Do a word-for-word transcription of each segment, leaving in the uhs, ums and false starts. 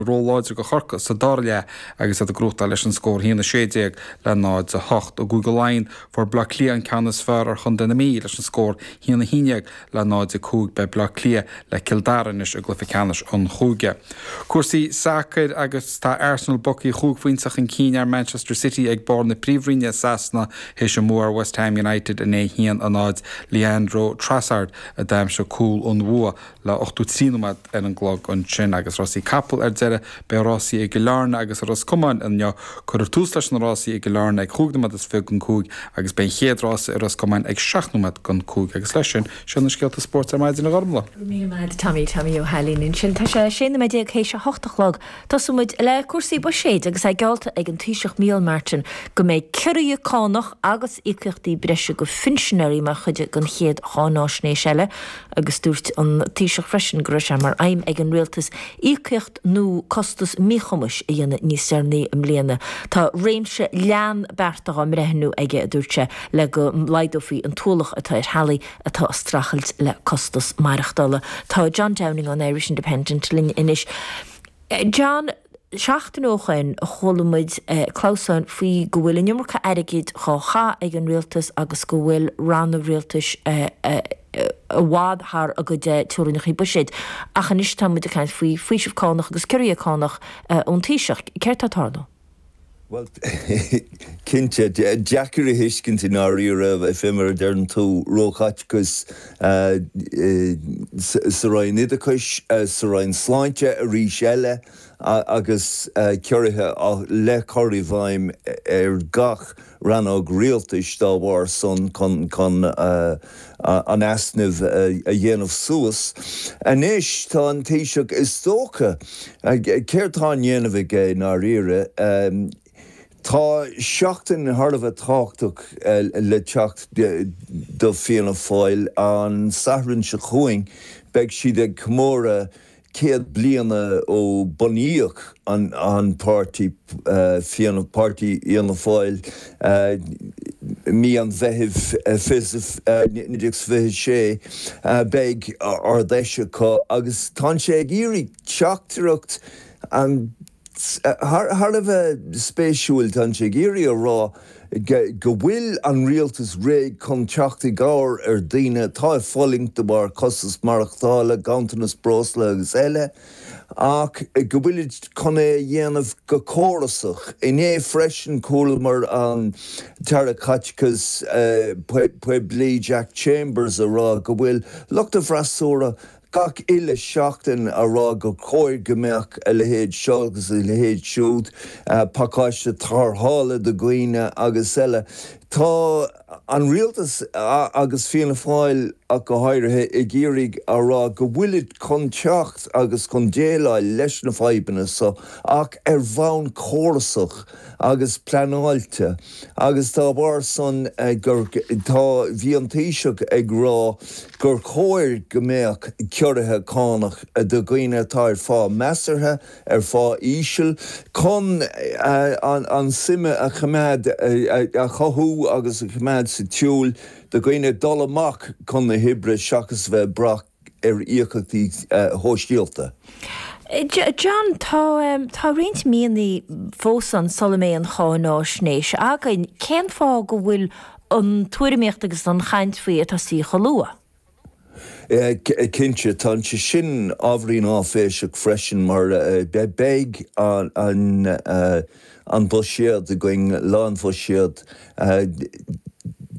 Róláidir do Chorcaigh sa dara leath agus iad ag gnóthachtáil leis an scór haon a sé déag le náid a hocht. I gCúige Laighean fuair Bleá Cliath an ceann is fearr ar Chontae na Mí leis an scór haon a haon déag le náid a cúig. Beidh Bleá Cliath le Cill Dara anois i gcluiche ceannais an chúige. Cúrsaí sacair agus tá Arsenal bogtha chúig phointe chun cinn ar Manchester City ag barr na Príomhroinne i Sasana théis a mbua ar West Ham United inné haon a náid Leandro Trossard a d'aimsigh cúl an bhua le ochtó trí nóiméad ar an gclog ansin agus rásaí capall ar deireadh beidh rásaí i gCill Airne agus i Ros Comáin inniu cuirfear tús leis na rásaí i gCill Airne ag cúig nóiméad is fiche don cúig agus beidh an chéad rása i Ros Comáin ag seacht nóiméad don cúig agus leis sin sin na scéalta spóirt ar maidin a Ghormlaith. Míle Tommy Tommy Ó hAilín ansin tá sé sé nóiméad déag théis a hocht a chlog. Tosóimid le cúrsaí buiséid agus é geallta ag an Taoiseach Micheál Martin go mbeidh ciorruithe cánach agus íocaíochtaí breise go phinsinéirí mar chuid den chéad cháinaisnéis eile agus dúirt an Taoiseach freisin go raibh sé mar aidhm ag an rialtas íocaíocht nó costas míchumais a dhéanamh níos deireanaí i mbliana. Tá réimse leathan bearta á mbreithniú aige a dúirt sé le go laghdófaí an t-ualach atá ar theaghlaigh atá ag streachailt le costas maireachtála. Tá John Downing an Irish Independent linn anois. John seachtain ó shin chuala muid eh, clamhsán faoi go bhfuil an iomarca airgid á chaitheamh ag an rialtas agus go bhfuil ranna rialtais eh, eh, i bhfad thar a gcuid teorainneacha buiséid. Ach anois tá muid ag caint faoi faoiseamh cánach agus ciorruithe cánach ón Taoiseach. Céard atá ag tarlú? Well cinnte deacair a thuiscint i ndáiríre fé mar a deireann tú róchaiteachas sa Roinn Oideachais sa Roinn Sláinte arís eile agus ciorruithe le cur i bhfeidhm ar gach rannóg rialtais dá bharr san chun chun an easnamh a dhéanamh suas. Anois tá an Taoiseach is dócha céard atá á dhéanamh aige i ndáiríre. Tá seachtain thar a bheith tábhachtach le teacht do Fianna Fáil an Satharn seo chugainn beidh siad ag comóradh céad bliana ó bunaíodh an an páirtí Fianna páirtí Fhianna Fáil mí an Mheithimh fiche sé beidh ard-fheis acu agus tá sé ag iarraidh teachtaireacht an thar a bheith spéisiúil tá sé ag iarraidh a rá go bhfuil an rialtas réidh chun teacht i gcabhair ar daoine atá ag fulaingt de bharr costas maireachtála, ganntanas breosla agus eile, ach go bhfuilid chun é a dhéanamh go córasach. Inné freisin chualamar an tAire Caiteachais Poiblí Jack Chambers a rá go bhfuil lucht an fhreasúra gach uile seachtain a rá go chóir go mbeadh a leithéid seo agus a leithéid siúd pacáiste tarrthála do dhaoine agus eile. Tá an rialtas agus Fianna Fáil ach go háirithe ag iarraidh a rá go bhfuilid chun teacht agus chun déileáil leis na fadhbanna so ach ar bhonn córasach agus pleanáilte agus dá bharr san gur tá bhí an Taoiseach ag rá gur chóir go mbeadh ciorruithe cánach do dhaoine atá ar phá measartha ar phá íseal chun an suime a choimeád a chothú agus a choimeád sa tsiúl do dhaoine dul amach chun na hoibre seachas bheith brath ar íocaíochtaí sóisialta. John tá tá roinnt míonna fós ann sula mbeidh an cháinaisnéis againn cén fáth go bhfuil an tuairimíocht agus an chaint faoi ag tosaí chomh luath. Cinnte tá sé sin ábhairín áiféiseach freisin mar beidh an an buiséad againn lá an bhuiséid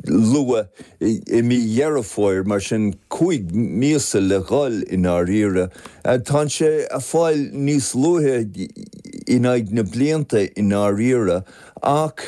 luath i mí Dheireadh Fómhair mar sin cúig míosa le dhul i ndáiríre. Tá sé ag fáil níos luaithe in aghaidh na blianta i ndáiríre ach